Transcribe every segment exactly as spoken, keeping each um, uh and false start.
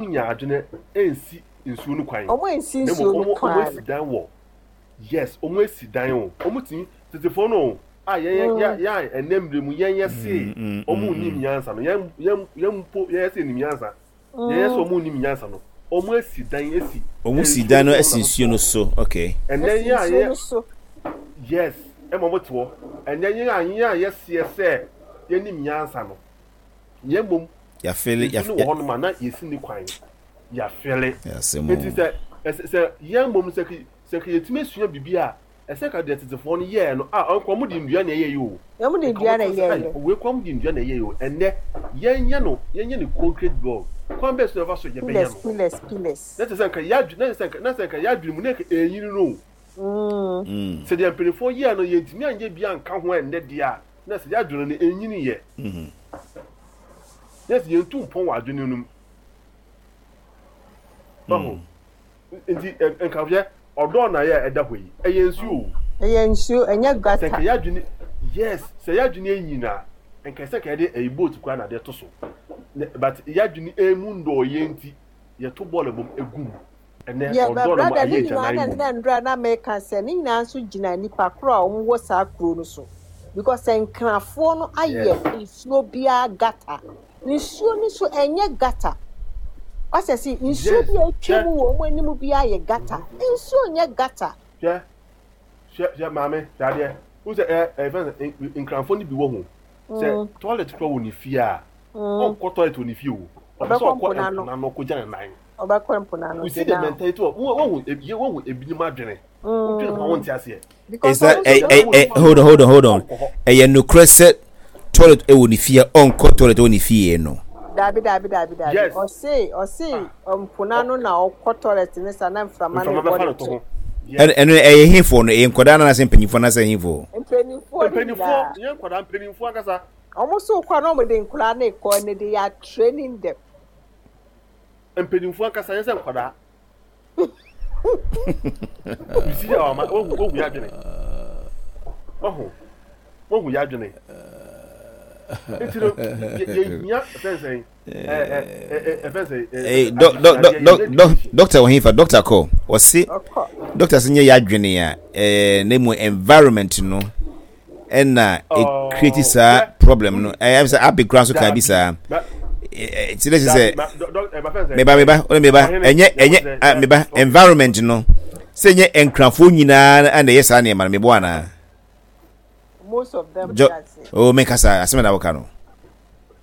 Nya adwene nsi nsuo no kwan. Ɔmo nsi Na nsuo mmom no ɔmo ɔmo kwan. Asi dan wɔ, yes, ɔmo asi dan o. Ɔmo tumi tetefoɔ no o, a yɛn yɛ yɛ a ɛnɛ mmerɛ mu yɛn yɛ se ɔmo nim nyansa no, yɛn yɛn yɛn mpo yɛn yɛ se nim nyansa, yɛn yɛ sɛ ɔmo nim nyansa no, ɔmo asi dan asi Ɔmo si nsuo dan no no so. asi Ɔmo na nsuo no so, okay. Ɛnɛ Asi yɛn a nsuo no yɛ so. Yes, ɛma ɔmo te hɔ. Ɛnɛ yɛn a yɛn a yɛseɛ sɛ yɛnim nyansa no, yɛn mmom yɛafele. Nsuo no wɔ hɔnom a na yɛsi ne kwan, yɛafele. Yɛasɛm. Nti sɛ ɛsɛ sɛ yɛn mmom sɛ ki sɛ ki yɛtumi asua biribi a ɛsɛ ka deɛ tetefoɔ no yɛɛ no a, ɔnkɔ ɔmo de nnua na ɛyɛ yi o. Ɔmo de nka nnua na ɔmo sɛ ɛyɛ ayi yɛ. Wei kɔ ɔmo de nnua na ɛyɛ yi o. Ɛnɛ yɛn yɛ no, yɛn yɛ no concrete block. Kwan bɛɛ so na ɛfa so yɛbɛyɛ Pillars no pillars pillars. Na kyerɛ sɛ nka yɛadwene, na kyerɛ sɛ nka na sɛ nka yɛadwene mu na nka ɛnyini no o. Mm. Sɛ deɛ mpanimfoɔ yɛɛ no yɛntumi anyɛ bi anka ho ɛnnɛ deɛ a, na sɛ yɛadwene no ɛnyini yɛ na sɛ yɛntu mpɔn wɔ adwene no mu ɔho. Nti ɛ- nka hwɛ ɔdɔɔ na yɛ a ɛda hɔ yi, ɛyɛ nsuo o. Ɛyɛ nsuo, ɛnyɛ Sɛ gutter. nka yɛadwene, yes, sɛ yɛadwene anyi na nka sɛ nka yɛde ɛyi boat koraa na adeɛ to so. Ne- but yɛadwene emu ndɔɔyɛ nti yɛto bɔɔl bom egu mu ɛnɛ Yɛ ɔdɔɔ bɛ na mu brother ayɛ ne nyinaa agyanan na bom. Na ndura na meka sɛ ne nyinaa nso gyina nipa koro a wɔn wɔ saa kuro no so because sɛ nkrafoɔ no ayɛ yes nsuo biara gutter, nsuo no so ɛnyɛ gutter. Ɔsɛ si nsuo yes bi a atwa hwɛ mu wɔ wɔn anim biara yɛ gutter, nsuo nyɛ gutter. Hwɛ, hwɛ, hwɛ, maame, hwɛ adeɛ n sɛ ɛ ɛ fɛn sɛ nkranfoɔ no bi wɔ ho sɛ Mm, toilet kora wɔ ne fie a mm. ɔnkɔ toilet wɔ ne fie o, ɔpɛ sɛ Ɔbɛkɔ ɔkɔ mpo n'ano. mpo n'ano kɔgya ne nan. Ɔbɛkɔ mpo n'ano. You see the Gyina. mentality of wɔn wɔn ebi wɔn ebinom adwene wodwene ho a Mm. wɔnte aseɛ. Because Is that ɔmo ɛ nso ɛ ɛ hold on, hold on, hold on. Ɔnkɔ hɔ. Ɛyɛ nokorɛ sɛ toilet ɛwɔ ne fie a ɔnkɔ toilet ɛwɔ ne fie no? Dabi, dabi, dabi, dabi. Yes. Ɔse ɔse mpo n'ano na ɔkɔ toilet ne sa na mframa ne mframa bɔ bɛfa ne no to to. ho. ɛno Yes. ɛno ɛyɛ hefoɔ no? Ɛyɛ nkwadaa no anaasɛ mpanyinfoɔ anaasɛ hefoɔ? Mpanimfoɔ no Mpanimfoɔ nyinaa. Yɛn nkwadaa, mpanimfoɔ ankasa. Ɔmo so kɔ na ɔmo de nkwadaa ne kɔ ne de yɛ training them. Mpanimfoɔ ankasa, yɛn sɛ nkwadaa. You see our ma wohu wohu yɛ adwene, wohu wohu yɛ adwene. Nti no yɛ yɛhia fɛn sɛn ɛ ɛ ɛ ɛ fɛn sɛn ɛ Ee, dɔ dɔ dɔ adesuadeɛ dɔ yɛhia dɔ education. Doctor wɔ hefa? Doctor kɔ, ɔse Ɔkɔ. Doctor sɛ nyɛ yɛ adwene a ɛɛ na mu environment no ɛna Oh, ɛ create saa hwɛ problem no. Ɛyɛ sɛ abe kura nso kan bi daabi saa. ma ɛɛ ti dɛ sɛ daabi ma dɔ dɔ ɛ ma fɛn sɛn meba meba ɔne meba ɔhene ɛnyɛ ɛnyɛ yɛ ah, meba okay. Environment no sɛ nyɛ nkrafoɔ nyinaa ɛna ɛyɛ saa nneɛma no, mebɔ anaa? Most of them jɔ that's it. O mekasa asɛm na woka no.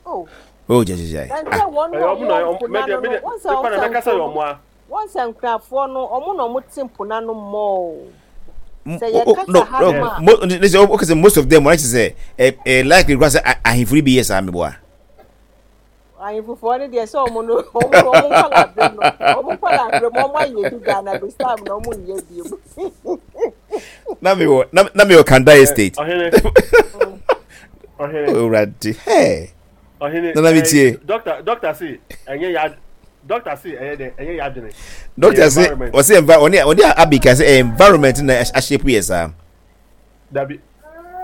Oh. O gyagyagyai. Na Ah. sɛ wɔn Ɛyɛ a ɔmo na wɔwɔ ɔmo mpo mɛdeɛ n'ano no mɛdeɛ wɔn sɛ mekɔ na wɔn sɛ mɛkasa yɛ nkuro ɔmo a wɔn sɛ nkrafoɔ no, ɔmo na ɔmo te mpo n'ano mɔɔ sɛ O o yɛkasa no ha no nom a mo ne sɛ o kasa most of them wɔn akyɛ sɛ ɛ ɛ likely kura sɛ ahemfo bi yɛ saa, meboa? Ahemfofoɔ no deɛ sɛ ɔmo no ɔmo no ɔmo nkɔla abere no, ɔmo nkɔla abere mu, ɔmo ayɛ bi Ghana this time na ɔmo nyɛ bi mu. Na mi wɔ na na mi wɔ Kanda ɛ Estate. Ɔhene, ɔhene. Owurade hɛ. Ɔhene. Nana mi ɛ tie. doctor doctor se ɛnyɛ ya, doctor se ɛyɛ dɛ ɛnyɛ ya adwene. Doctor ɛyɛ se environment. ɔse envi ɔne ɔne abika sɛ ɛyɛ environment na ahyɛ yɛ saa. Dabi,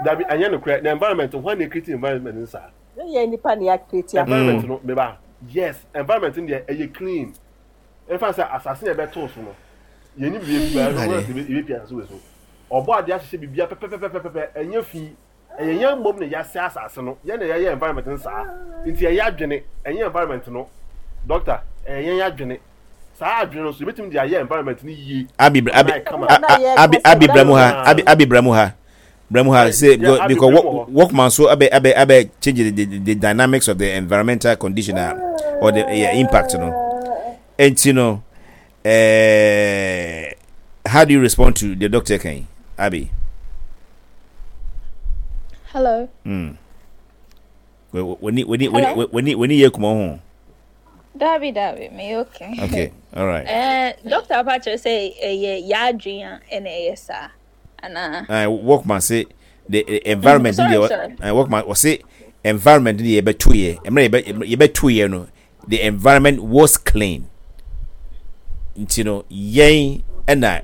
dabi, ɛnyɛ no korɛ. Na environment hwan na create environment no saa? Ne yɛ nipa na yɛ create ama. Environment no, meba, yes, environment no deɛ ɛyɛ clean. Ɛfa sɛ asase na ɛbɛtoo so no, yɛn ni biribi bi ɛno wɔn sɛ ebi pia asase wɔ so, ɔbɔ adeɛ ahyehyɛ biribi pɛpɛpɛpɛpɛ, ɛnyɛ fi. Ɛyɛ yɛn mmom na yɛasɛ asase no, yɛn na yɛyɛ environment no saa. Nti ɛyɛ adwene, ɛnyɛ environment no. Doctor, ɛyɛ yɛn adwene. Saa adwene no so yɛbɛtumi de ayɛ environment no yie Abi ama abi ayɛ kama. Na yɛ abi kasa abi bramu ha Ah. abi abi bramu ha, bramu ha say Yeah, because Abi because bramu hɔ. Workman so abɛ abɛ abɛ change the, the the dynamics of the environmental condition ah, or the, yeah, impact no. Nti no eh, how do you respond to the doctor kan, Abi? Hello. mm. wani wani Hello. wani wani yɛ kuma ho. Dabi, dabi, me okay. Okay, all right. Eh, Doctor Apache say eh yeah, yadwin a ɛna ɛyɛ saa. Ana. uh, workman say the, the environment Sorry, the sorry. uh, workman was say environment the yɛbɛto yɛ mmerɛ yɛbɛ yɛbɛto yɛ no, the environment was clean. Nti no yɛn ɛna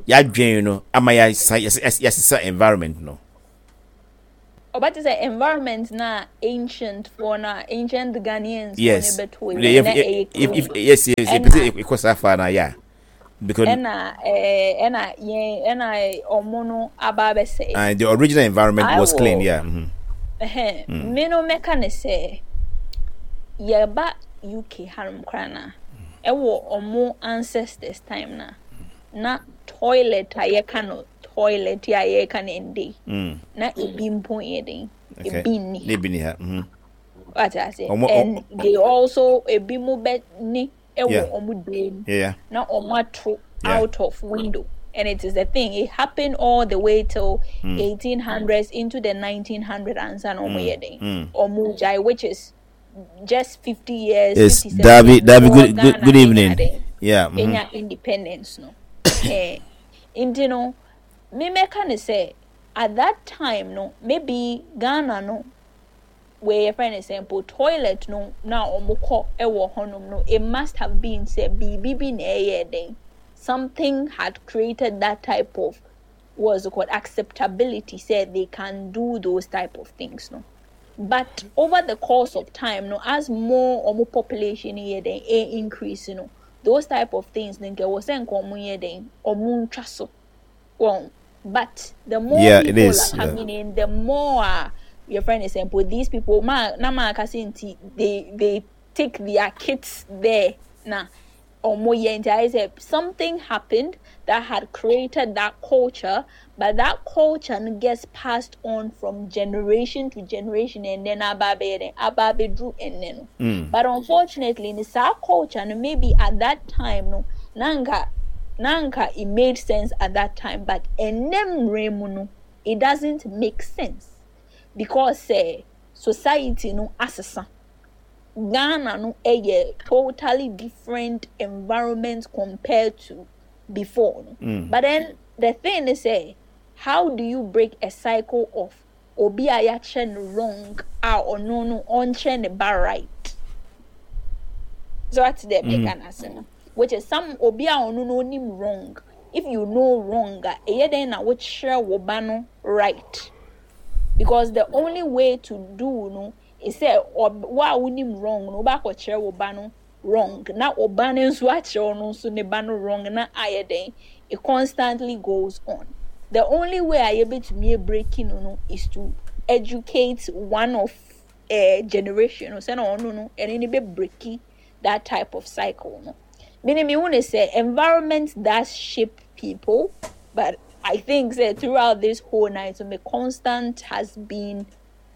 yɛadwen no ama yɛasa yɛsesa environment no. Ɔbɛte sɛ environment na ancient foɔ na ancient Ghanaians yes foɔ ne bɛto Yeah, yi na if, ɛyɛ if, clean. if, yes yes Ɛna yɛpɛ sɛ ɛkɔ saa far na yeah, because ɛna ɛɛ ɛna yɛn ɛna ɔmo no aba abɛsɛe. uh, the original environment I was clean, will yeah. Mm-hmm. Ɛhɛn, me no mɛka ne sɛ yɛba U K hanom koraa na ɛwɔ ɔmo ancestors time na na toilet a yɛka no, toilet a yɛka no ndɛ yi, Mm. na ebi mpo yɛ den, okay ebi nni ne ha. Ebi ni ha mm-hmm. Wate ase? Ɔmo And ɔ- they also, ebi mo bɛ ni yeah ɛwɔ ɔmo dan mu yeah yeah na ɔmo ato yeah out of window, and it is a thing. It happened all the way till mm. eighteen hundreds into the nineteen hundred ansa na ɔmo Mm. yɛ den Mm. ɔmo gyae, which is just fifty years, Yes, fifty-seven Davi, years Davi, before good, good, Ghana good enya evening. den Yeah. Mm-hmm. enya independence no. Eh, nti no me mɛka ne sɛ at that time no, maybe Ghana no where yɛfrɛ no sɛ mpo toilet no na ɔmo kɔ ɛwɔ hɔnom no, it must have been sɛ biribi bi na ɛyɛ den, something had created that type of, what's it called, acceptability sɛ they can do those type of things no. But over the course of time no, as more ɔmo population yɛ den ɛ increase no, those type of things no, nka ɛwɔ sɛ nka ɔmo yɛ den ɔmo ntwa so wɔn. But the more Yeah, it people is. are Yeah. coming in, the more uh, your friend is saying, these people ma na ma aka sɛ nti they they take their kids there na ɔmo yɛ. Nti ayɛ sɛ something happened that had created that culture, but that culture no gets passed on from generation to generation and then aba abɛyɛ dɛn, aba abɛduru ɛnnɛ no. Mm. But unfortunately ne saa culture no, maybe at that time no, na nka na nka it made sense at that time, but ɛnnɛ mmerɛ mu no, it doesn't make sense because uh, society no asesa. Ghana no ɛyɛ totally different environment compared to before no. Mm. But then the thing is sɛ, how do you break a cycle of obi a yɛakyerɛ no wrong a ɔno no ɔnkyerɛ ne ba right? So that's the Mm. meka no ase no, which is some obi a ɔno no onim wrong. If you know wrong a, ɛyɛ dɛn na wokyerɛ wo ba no right? Because the only way to do no is sɛ ɔb wo a wonim wrong no, wobɛakɔkyerɛ wo ba no wrong, na wo ba no nso akyerɛ ɔno nso ne ba no wrong, na ayɛ dɛn, it constantly goes on. The only way a yɛbɛtumi breaking no no is to educate one of uh, generation no sɛ na ɔno no ɛne ne bɛ break that type of cycle no. Meaning me want to say environment does shape people, but I think that throughout this whole night, the constant has been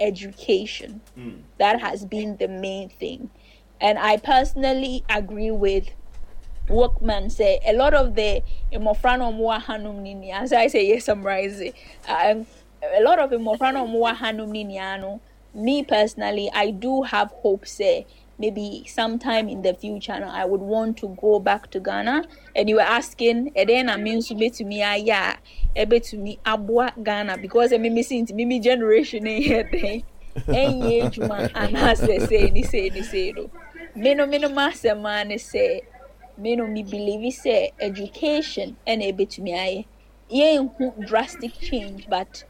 education. That has been the main thing. And I personally agree with Workman sɛ a lot of the mmɔfra no ɔmo wɔ hanom ni nia, as I say, yes, summarize it. Um, a lot of mmɔfra no ɔmo wɔ hanom ni nia no, me personally, I do have hope sɛ maybe sometime in the future no, I would want to go back to Ghana. And you were asking, ɛdɛn na me nso betumi ayɛ a ɛbɛtumi aboa Ghana, because ɛmi mi si nti mi mi generation yɛ dɛn ɛnyɛ adwuma anaasɛ sei ne sei ne sei no. Me no me no m'asɛm ara ne sɛ me no me believe sɛ education ɛna ebetumi ayɛ. Yɛnhu drastic change, but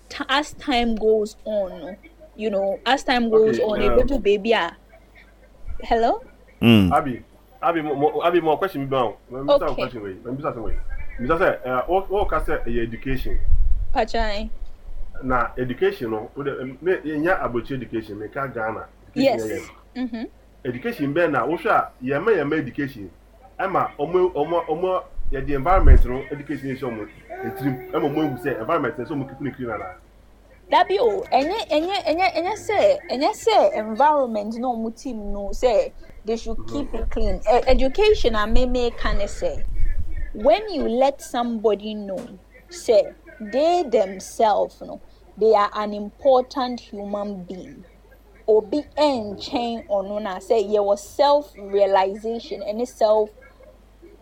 t- as time goes on no, you know, as time goes Okay, on, um, ebedu baabi a, hello. Mm. Abi, Abi, mo, mo, Abi, mo question bi ma wo. Mo bisa Okay. question wei. Mo bisa asɛm wei. Bisa sɛ, eh, wo wo ka sɛ ɛyɛ education. Pachai. Na education no, wo de me yɛnya aborɔkyire education, me ka Ghana education yɛ yɛ Yes. no. Mm-hmm. Education bɛn na wohwɛ a yɛma yɛma education ɛma ɔmo ɔmo ɔmo yɛde environment no education yɛ hyɛ ɔmo etirim ɛma ɔmo ehu sɛ environment no sɛ ɔmo keep ne clean ana? Dabi o, ɛnyɛ ɛnyɛ ɛnyɛ ɛnyɛ sɛ ɛnyɛ sɛ environment na ɔmo team no sɛ they should keep it clean. E education a me me ka ne sɛ when you let somebody know sɛ they themselves no, they are an important human being, obi ɛnkyɛn ɔno, na sɛ yɛwɔ self realization ɛne self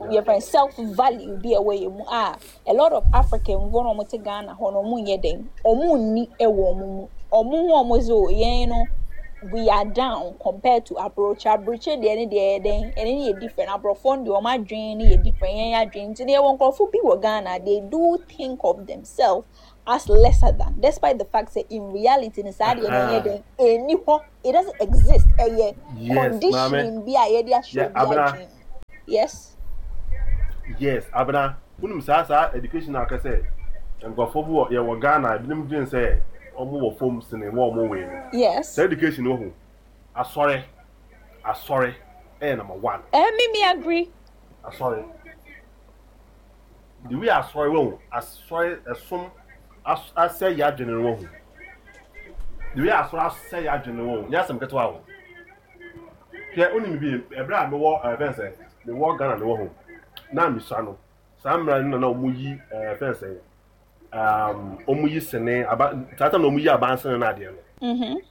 yɛfrɛ self value bi a ɛwɔ yɛn mu a a lot of African foɔ na wɔn te Ghana hɔ no, wɔn nyɛ den, wɔn nni ɛwɔ wɔn mu, wɔn ho wɔn sɛ o yɛn no we are down compared to aburokyi. Aburokyi deɛ ne deɛ yɛ den, ɛne ne yɛ different. Aborɔfoɔ no deɛ, wɔn adwene ne yɛ different, yɛn adwene nti deɛ, wɔn nkurɔfoɔ bi wɔ Ghana, they do think of themselves us lesser than, despite the fact that in reality no saa deɛ no ɛnyɛ dɛn ɛnni hɔ, it doesn't exist. Ɛyɛ Yes, maame. conditioning bi a yɛde ahyɛ Yeah, obi Abena. adwene mu. Yes. Yes, Abena. Wonim saa saa education a aka sɛ nkurɔfoɔ bi wɔ yɛwɔ Ghana, ebinom dwen sɛ ɔmo wɔ fam sene wɔn ɔmo wei no. Yes. Saa education no ho asɔre asɔre ɛyɛ number one. Eh, me me agree. Asɔre. The way asɔre wɔ ho, asɔre ɛsom as asɛ yɛ adwene no wɔ ho. The way asɔre asɛ yɛ adwene no wɔ ho. Nyɛ asɛm ketewa o. Hwɛ, wonim bi, ɛberɛ a mewɔ ɛɛ fɛn sɛ mewɔ Ghana no wɔ ho na mesua no, saa mmerɛ no na na ɔmo yi ɛɛ fɛn sɛ um, ɔmo yi sene aba saa time na ɔmo yi abansene no adeɛ no. Mhm.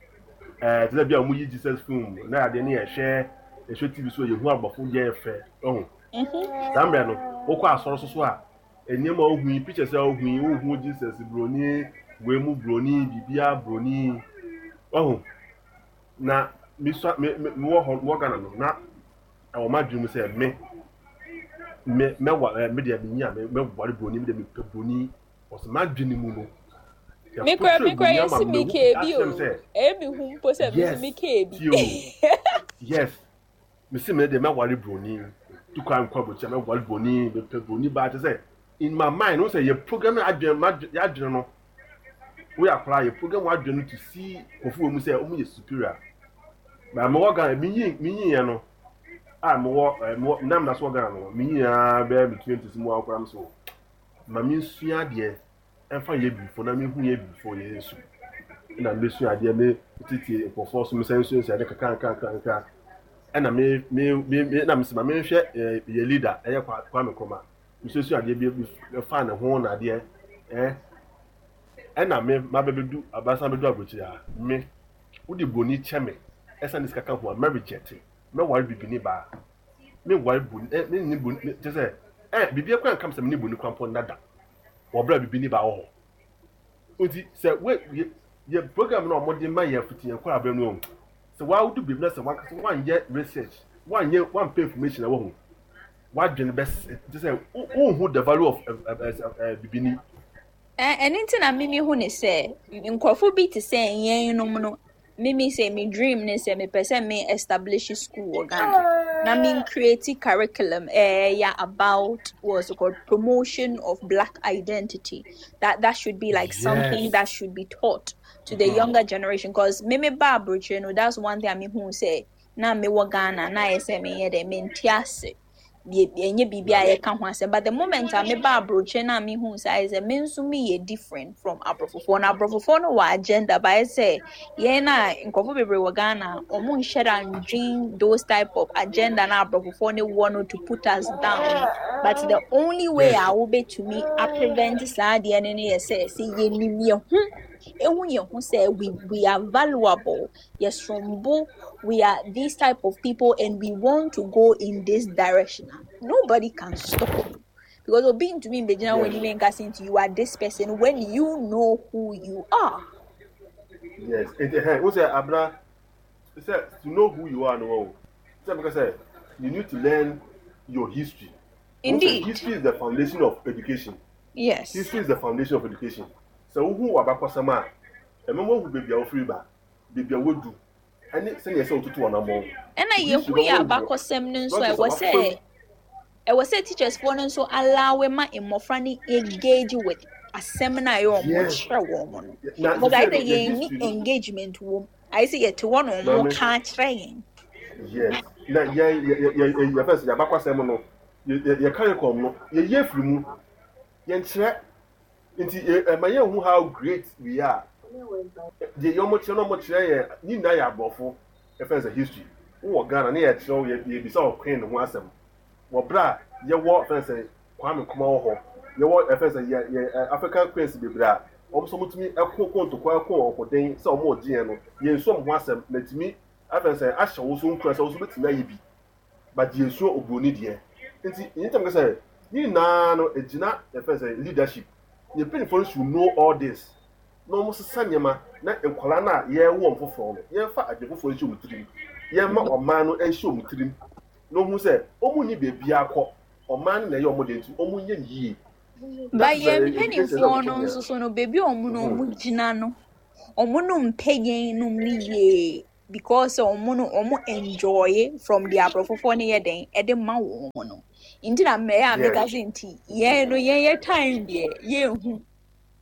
Ɛɛ te sɛ bi a ɔmo yi Jesus film na adeɛ no yɛhwɛ yɛhwɛ T V so, yɛhu abɔfo yɛ fɛ ɔho. Mhm. Saa mmerɛ no wokɔ asɔre so so a, nneɛma a wohu yi, pictures a wohu yi, wohu Jesus broni wei mu, broni biribiara broni ɔho. Na mesua me me mewɔ hɔ, mewɔ Ghana no, na ɛwɔ m'adwene mu sɛ me me mɛwa ɛɛ me deɛ menyi a me mɛware broni. Me deɛ mepɛ broni ɔsɛ m'adwene mu no. Me kura me kura Yɛfokyerɛ broni ama yɛsi me me mehu kee bi akyerɛ me o. sɛ Ɛyɛ me hu mpo sɛ me nso yes me kee bi. Tie o, yes, mesi me deɛ mɛware broni tu kwan nkɔ aburokyi a, mɛware broni, mepɛ broni baa. Kyerɛ sɛ in my mind no sɛ yɛ program adwene m'adwene yɛadwene no, woyɛ akwaraa, yɛ program adwene no to see nkurɔfo wɔ mu sɛ wɔn yɛ superior. Na mewɔ Ghana, menyi menyi yɛ no a mewɔ ɛɛ mewɔ nam na so wɔ Ghana no, menyi ya bɛyɛ me twenties mu akora mi so ma me nsua adeɛ ɛmfa yɛ bifo na mehu yɛ bifo yɛ nsu ɛna mesua adeɛ, me tete nkurɔfoɔ so, mesɛ nsua nsua adeɛ kakra nkra nkra nkra. Ɛna me me me me na mesɛ ma menhwɛ ɛɛ yɛ leader ɛyɛ Kwa Kwame Nkrumah, mesuasua adeɛ bi ɛfa ne ho na adeɛ ɛɛ ɛna me ma bɛbɛdu abasan bɛdu aburokyire a, me wode broni kyɛ me ɛsan ne sika ka ho a, mɛ reject. Mɛware bibini baa, menware broni ɛ me ne broni kyɛ sɛ ɛ biribi akora nkam sɛ me ne broni kora mpo nnada wɔ berɛ a bibini baa wɔ hɔ. Nti sɛ we yɛ yɛ program na ɔmode ma yɛ fiti yɛn kɔ abɛn no, sɛ wawodu baabi na sɛ wankasa wanyɛ research, wanyɛ, wampɛ information a wɔ ho, wadwene bɛ kyɛ sɛ wonhu the value of ɛ ɛ ɛ bibini. Ɛ ɛno nti na mimi hu ne sɛ nkurɔfo bi te sɛ yɛn nom no, mimi sɛ me dream ne sɛ mepɛ sɛ me establish school wɔ Ghana na me create curriculum ɛyɛ about what's it called, promotion of Black identity, that that should be like something yes that should be taught to the younger generation, because me me ba aburokyire no, that's one thing I mean hu sɛ na mewɔ Ghana na ayɛ sɛ meyɛ dɛ mente ase ɛnyɛ biribi a yɛka ho asɛm. But the moment a meba aburokyire na mehu sɛ ayɛ sɛ me nso meyɛ different from aborɔfofoɔ no, aborɔfofoɔ no wɔ agenda, but ayɛ sɛ yɛn a nkurɔfoɔ bebree wɔ Ghana, ɔmo nhyɛ da ndwen those type of agenda na aborɔfofoɔ no wɔ no to put us down. But the only way a wobɛtumi aprevent saa adeɛ no no yɛ sɛ sɛ yɛnim yɛn ho, ehu yɛn ho sɛ we we are valuable, yɛsombo, we are these type of people and we want to go in this direction, nobody can stop you, because obi ntumi mbɛgyina wɔn anim nka sɛ nti you are this person when you know who you are. Yes, nti hɛn n sɛ abena sɛ to know who you are no o, sɛ meka sɛ you need to learn your history. N sɛ Indeed. History is the foundation of education. Yes. History is the foundation of education. Sɛ wohu wɔ abakɔsɛm a ɛmɛ mo hu beebi a wofiri ba, beebi a wodu, ɛne sɛnea ɛsɛ wotutu wɔn anamɔ. Ɛna History yɛhu yɛ bɛma wohu abakɔsɛm no nso a, structures a ɛwɔ wafam. Sɛ ɛwɔ sɛ teachers foɔ no nso allow ma mmɔfra no engage with asɛm no a ɛyɛ ɔmo Yes. kyerɛ wɔn mo no, Na because ayɛ sɛ sɛ no yɛ yɛnni history no engagement wɔ mu, ayɛ sɛ yɛte hɔ na ɔmo Maame. ka akyerɛ yɛn. Yes, na yɛn yɛ yɛ yɛ yɛfɛ sɛ yɛabakɔsɛm no, yɛ yɛ yɛ curriculum no, yɛyɛ firi mu, yɛnkyerɛ nti yɛ ɛma yɛn hu how great we are. Deɛ yɛ ɔmo kyerɛ no, ɔmo kyerɛ yɛ ne nyinaa yɛ aborɔfo. Yɛfɛ sɛ history wowɔ Ghana ne yɛkyerɛ yɛ yɛbisa wɔ queen ho asɛm wɔ berɛ a yɛwɔ fɛn sɛ Kwame Nkrumah wɔ hɔ, yɛwɔ ɛfɛ sɛ yɛ yɛ ɛ, African queens bebree a wɔn nso wɔtumi ɛko ko ntokwa, ɛko ɔkoden sɛ wɔn ɔgye yɛn no, yɛn nso wɔn ho asɛm na tumi afɛn sɛ ahyɛ wo so nkura sɛ wo so bɛtumi ayɛ bi, but yɛn nsuo oburoni deɛ. Nti yɛn ntam sɛ ne nyinaa no egyina yɛfɛ sɛ leadership. Yɛn mpanyinfoɔ no should know all this na wɔn sesa nneɛma na nkwadaa no a yɛrewo wɔn foforɔ no, yɛmfa adwene foforɔ nhyɛ wɔn tirim, yɛmma ɔman no nhyɛ wɔn tirim na ohun sɛ wɔn nni beebi akɔ, ɔman no na ɛyɛ wɔn de, nti wɔn nyɛ ne yie. Ba That is the yɛn education sɛ mpanimfoɔ ɔmo no kyerɛ nso so no beebi a ɔmo no yɛn. ɔmo gyina no ɔmo no mpɛ yɛn nom no yie because ɔmo no ɔmo enjoy from the aborɔfofoɔ no yɛ den ɛde ma wɔn no nti na mmɛyɛ a meka Yes. sɛ nti yɛn no yɛn yɛ time deɛ yɛnhu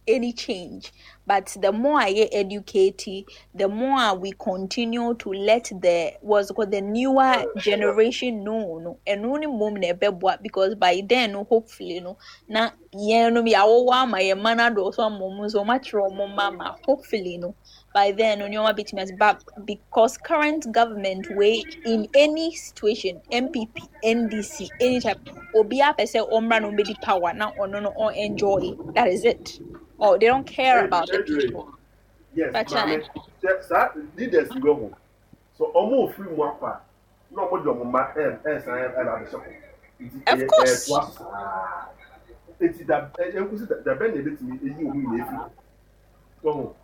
any change. But the more I get educated, the more we continue to let the what's called the newer generation know no. And only mom na ɛbɛboa because by then no hopefully no na yɛn no yɛawowo ama yɛn mma no adɔɔso ama ɔmo nso ɔmo akyerɛ ɔmo mma ma hopefully no by then no nneɛma bɛtumi ase but because current government way in any situation NPP NDC any type obiara pɛ sɛ ɔmmra na ɔmmɛdi power na ɔno no ɔn enjoy that is it oh they don't care about the Adre, people yes, but maame. Sɛ saa leaders yi wɔ ho. So ɔmo ofiri mu akɔ a na ɔmo de ɔmo mma ɛ ɛsan ɛba abɛhyɛ hɔ. Nti of ɛyɛ course ɛɛtoa so saa. Eti da ɛ ɛnkosi da da bɛn na ebetumi eyi ɔmo nyinaa efiri hɔ. Wɔho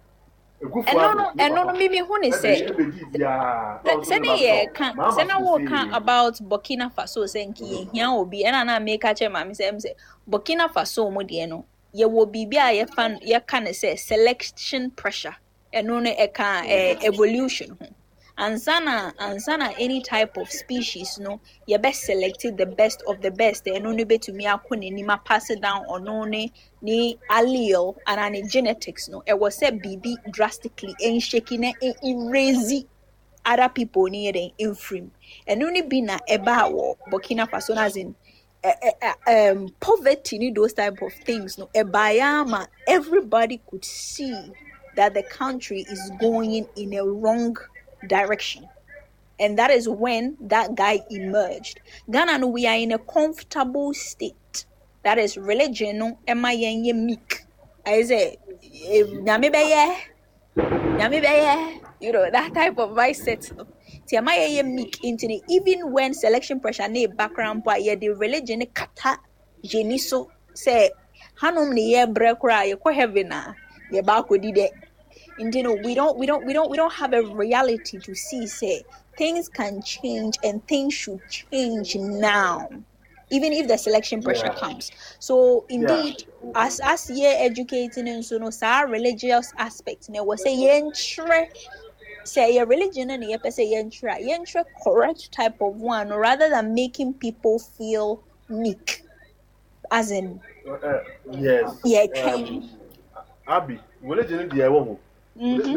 Akufo ɛno Addo no ne ɛno no papa mimi hu ne ɛbɛ sɛ ɛbɛdi biara na ɔno nso de sɛne ba abɛhyɛ hɔ. yɛka Mahama sɛne so woka see. about Burkina Faso sɛ nka yɛhia obi ɛna na meka kyerɛ maame sɛ ɛm sɛ Burkina Faso mu deɛ no yɛwɔ biribi a yɛfa no- yɛka ne sɛ selection pressure ɛno no ɛka eh, evolution ho ansa na ansa na any type of species no yɛbɛ select the best of the best ɛno no bɛtumi akɔ n'anim apass it down ɔno ne ne allele anaa ne genetics no ɛwɔ sɛ biribi drastically ɛnhyɛki na ɛerase other people ne yɛ dɛn mfiri mu ɛno ne bi na ɛbaa wɔ Burkina Faso no as in eh, eh, eh, um, poverty ne those type of things no ɛbaeɛ ama everybody could see that the country is going in a wrong direction and that is when that guy emerged Ghana no we are in a comfortable state that is religion no ɛma yɛn yɛ meek ayɛ sɛ eh, nyame bɛyɛ nyame bɛyɛ you know that type of mindset no nti ɛma yɛyɛ meek nti no even when selection pressure ne background mpo a yɛde religion ne kata yɛni so sɛ hanom ne yɛbrɛ koraa yɛkɔ heaven a yɛba akɔdi dɛ nti no we don't we don't we don't we don't have a reality to see sɛ things can change and things should change now even if the selection pressure Yeah, comes so yeah. indeed as as yɛ educating nso no saa religious aspect na ɛwɔ sɛ yɛnkyerɛ sɛ ɛyɛ religion no na yɛpɛ sɛ yɛnkyerɛ a yɛnkyerɛ correct type of one no, rather than making people feel meek as in Uh, uh, yes. yɛtwɛn Um, Abi, religion deɛ ɛwɔ ho. mm-hmm.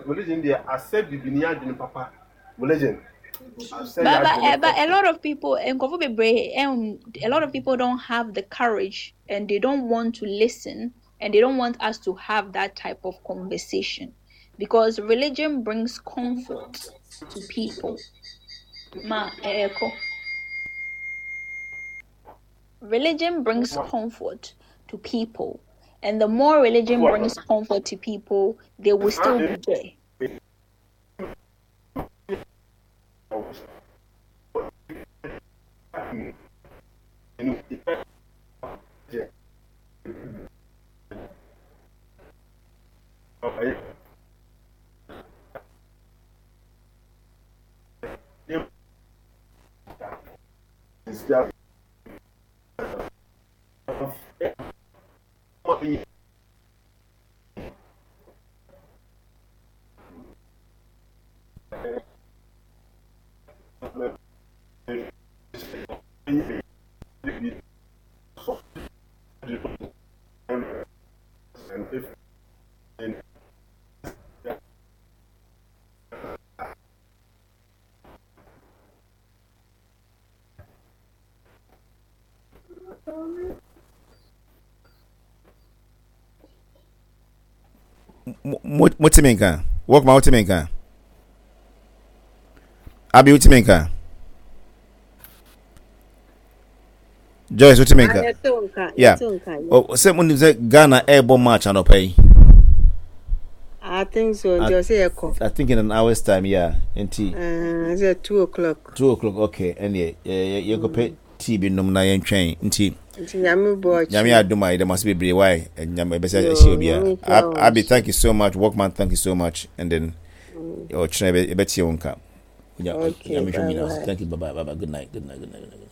Religion deɛ asɛ bibini adwene papa. Religion asɛ yɛ But but adwene eh, but a papa. lot of people and bebree um, a lot of people don't have the courage and they don't want to listen and they don't want us to have that type of conversation because religion brings comfort to people. Ma eh, echo. Religion brings comfort to people, and the more religion brings comfort to people, they will still be there. Motimi nka. Workman wotimi nka. Abi wotimi nka. Joyce wotimi Ah, nka. yɛte wo nka, Yeah. yɛte wo nka. Oh, sɛ mo nim sɛ Ghana ɛrebɔ match anɔpa yi. I think so. I, Nti ɔsɛ yɛkɔ. I think in an hour's time, yeah. Nti Uh, sɛ two o'clock. two o'clock, okay. Ɛnneɛ yɛkɔpɛ Mm. tea bi nom na yɛntwɛn. Nti Nti nyame bɔ nyame ɔkyena. adom a yɛda mo ase bebree wae. Nyame ɛbɛsɛ Yo, ɛhyɛ obiara. nyame nhyira Ab- wo Abi, nso. thank you so much. Workman, thank you so much. And then Mm. ɔkyena yɛbɛtie wo nka. Okay, Nyame hwɛ mu bye nyinaa. bye. Thank you. Bye bye. Bye bye. Good night. Good night. Good night. Good night.